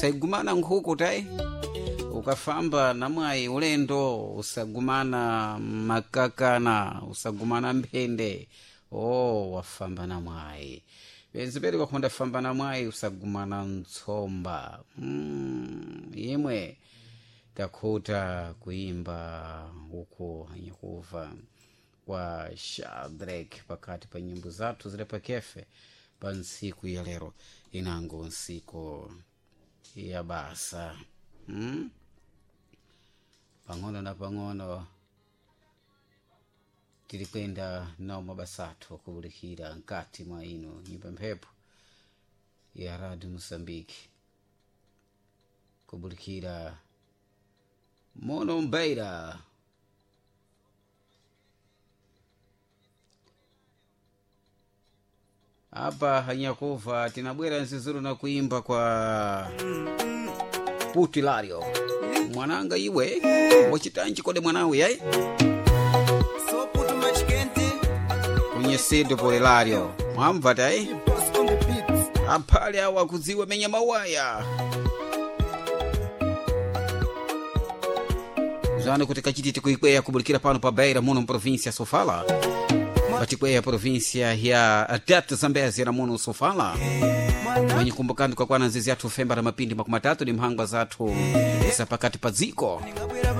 Usayigumana nkhuku tayi ukafamba na mwayi ulendo, usagumana makakana, usagumana mphende. Oh, wafamba na mwayi benziperi wakhonda famba na mwayi, usagumana ntsomba. Imwe takhuta kuimba uku anyakuva kwa Shadrack pakati pa nyimbo zathu zile pakefe pa ntsiku ya lero, inango ntsiku ya basa. Pang'ono na pang'ono tili kwenda nawo mabasa athu akuwulikira mkati mwa ino nyumba mphepo ya Radio Mosambiki, kubulikira mono mbaira. Apa hanyakuva tinabwera nzizuru na kuimba kwa Putilario, mwananga iwe wachitanji kode mwanawe yayi So put much kente, kunyesedo polelario mwamva tayi boss on the beat. aphale awo akudziwa menya mawaya zano kuti kachititi kuikweya kubulikira pano pa Beira muno mprovinsia ya Sofala, patikweya provinsia ya Tete Zambezi na muno Sofala, mwenye kumbukani kakwana nzizi athu femba na mapindi 30 ni mhangwa zathu za pakati pa dziko. Ngabwera.